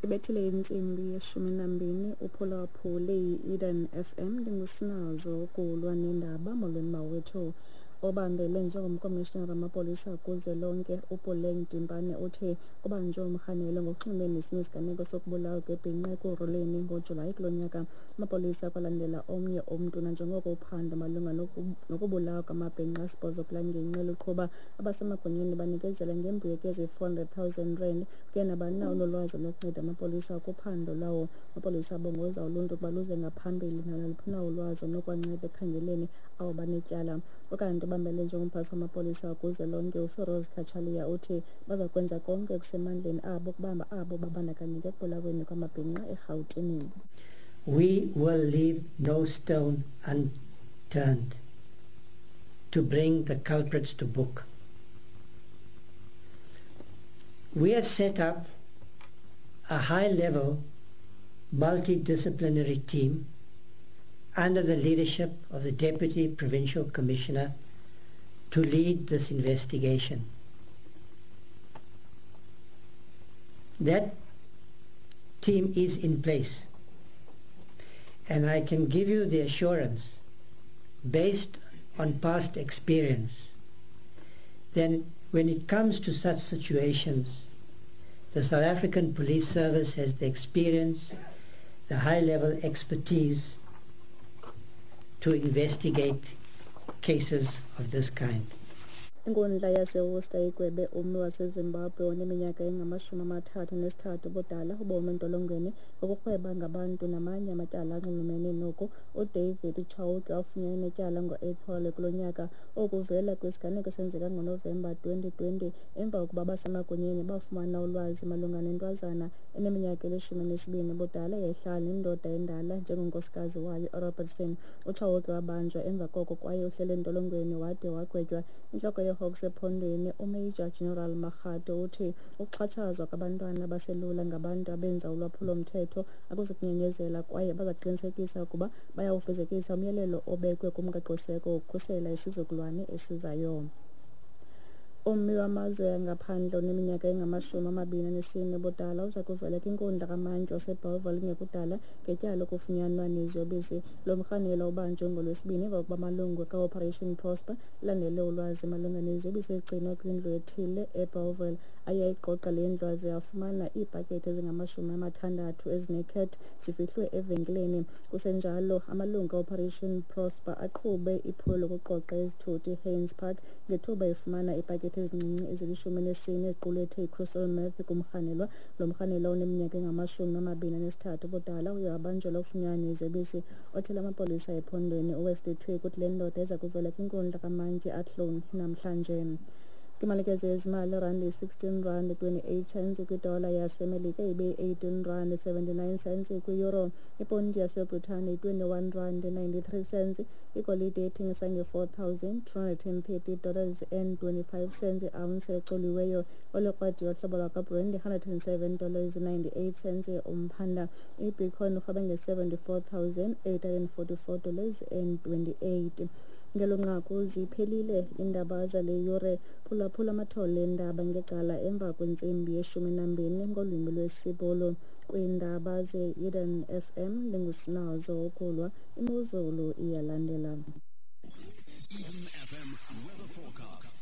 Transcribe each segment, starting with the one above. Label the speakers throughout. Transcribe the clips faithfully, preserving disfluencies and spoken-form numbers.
Speaker 1: Ibethile intsimbi yeshumi nambini, uphulaphule yi-Eden F M. Ndingusinazo kulwa nendaba. Molweni mawethu. Obambele njengomkomishinala wamapolisa kuzwelonke uPuleng Dimpane uthi kubanjwe umrhanelwa ngokunxulumene nesinye isiganeko sokubulawa kwebhinqa Ekurhuleni ngoJulayi kulo nyaka. Amapolisa akwalandela omnye umntu nanjengoko uphando malunga nokubulawa kwamabhinqa asibhozo kula ngingqi luqhuba. Abasemagunyeni banikezela ngembuyekezo ye-four hundred thousand rand kuye nabani na onolwazi olunokunceda amapolisa kuphando lwawo. Amapolisa abongoza uluntu ukuba luze ngaphambili naluphi na ulwazi olunokubanceda ekukhangeleni abo banetyala. Ukanti obambele njengomphathi wamapolisa kuzwelonke uFiroz Cachalia uthi baza kwenza konke okusemandleni abo ukubamba abo babandakanyeka ekubulaweni kwamabhinqa eRhawutini.
Speaker 2: We will leave no stone unturned to bring the culprits to book. We have set up a high-level multidisciplinary team under the leadership of the Deputy Provincial Commissioner to lead this investigation. That team is in place, and I can give you the assurance, based on past experience, then when it comes to such situations, the South African Police Service has the experience, the high-level expertise to investigate cases of this kind.
Speaker 1: Inkundla yaseWorcester igwebe ummi waseZimbabwe oneminyaka engamashumi amathathu nesithathu ubudala ubomi entolongweni ngokurhweba ngabantu namanye amatyala anxulumene noku. UDavid Chauke wafunyanwa enetyala ngo-Aprili kulo nyaka. Oku kuvela kwisiganeko esenzeka ngoNovemba twenty twenty emva kokuba abasemagunyeni bafumana ulwazi malunga nentwazana eneminyaka elishumi elinesibini ubudala eyayihlala nendoda endala njengonkosikazi wayo eRobertson. UChauke wabanjwa emva koko kwaye uhleli entolongweni wade wagwetywa. Intloko yeHawks ephondweni uMajor General Makgato uthi ukuxhatshazwa kwabantwana abaselula ngabantu abenza ulwaphulo-mthetho akuzukunyamezela kwaye bazaqinisekisa ukuba bayawufezekisa umyalelo obekwe kumgaqoseko wokukhusela isizukulwane esizayo. Ummi wamazwe angaphandle oneminyaka engamashumi amabini anesine ubudala uza kuvela kwinkundla kamantyi waseBellville kungekudala ngetyala lokufunyanwa neziyobisi. Lo mrhanelwa ubanjwe ngoLwesibini emva kokuba amalungu ka-Operation Prosper elandele ulwazi malunga neziyobisi ezigcinwa kwindlu ethile eBellville. Aye ayigqogqa le ndlu aze afumana iipakethe ezingamashumi amathandathu ezinecat zifihlwe evenkileni. Kusenjalo, amalungu ka-Operation Prosper aqhube iphulo lokuqoqa izithuthi eHaynes Park ngethuba efumana iipakethe ezincinci ezilishumi elinesine eziqulethe i-crystal meth kumrhanelwa. Lo mrhanelwa oneminyaka engamashumi amabini anesithathu ubudala uye wabanjelwa ukufunyanwa neziyobisi. Othela amapolisa ephondweni uWesley Twigg uthi le ndoda iza kuvela kwinkundla kamantyi Athlone namhlanje. Kwimalike zezimali, irandi yi-sixteen rand twenty-eight cents kwidola yaseMelika, ibe yi-eighteen rand seventy-nine cents kwi-euro. Iponti yaseBritane yi-twenty-one rand ninety-three cents. Igolide ithengisa nge-four thousand two hundred and thirty dollars and twenty-five cents i-ounce ecoliweyo. Olekrwada yohlobo lwakwaBrent yi-hundred and seven dollars ninety-eight cents umphanda. IBitcoin irhweba nge-seventy-four thousand eight hundred and forty-four dollars and twenty-eight. Ngelo nqaku ziphelile iindaba zale yure. Phulaphula amathole eendaba ngecala emva kwentsimbi yeshumi nambini ngolwimi lwesiBhulu. Kwiindaba ze-Eden F M, ndingusinazo ukulwa. Imozulu iyalandela.
Speaker 3: Eden F M weather forecast.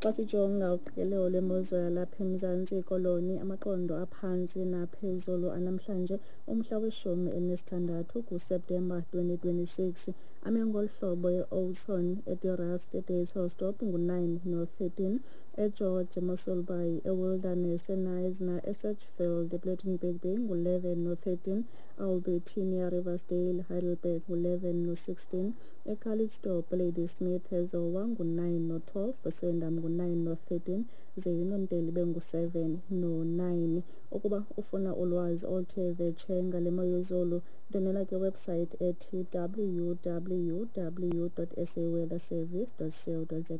Speaker 1: Xa sijonga uqikelelo lwemozulu yalapha eMzantsi Koloni, amaqondo aphantsi naphezulu anamhlanje umhla weshumi elinesithandathu kuSeptemba twenty twenty-six ame ngolu hlobo: eOudtshoorn, eDe Rust, eDysselsdorp ngu-nine no thirteen, eGeorge, eMossel Bay, eWilderness, eKnysna, eSedgefield, ePlettenberg Bay ngu-eleven no thirteen, Albertinia, Riversdale, Heidelberg ngu-eleven no sixteen, eCalitzdorp, Ladysmith, eZowa ngu-nine no twelve, eSwellendam ngu-nine no thirteen, ze iNonteli ibe ngu-seven no nine. Ukuba ufuna ulwazi oluthe vetshe ngale mo yezulu, ndwendwela kwiwebhusayithi ethi W W W dot saweatherservice dot co dot za.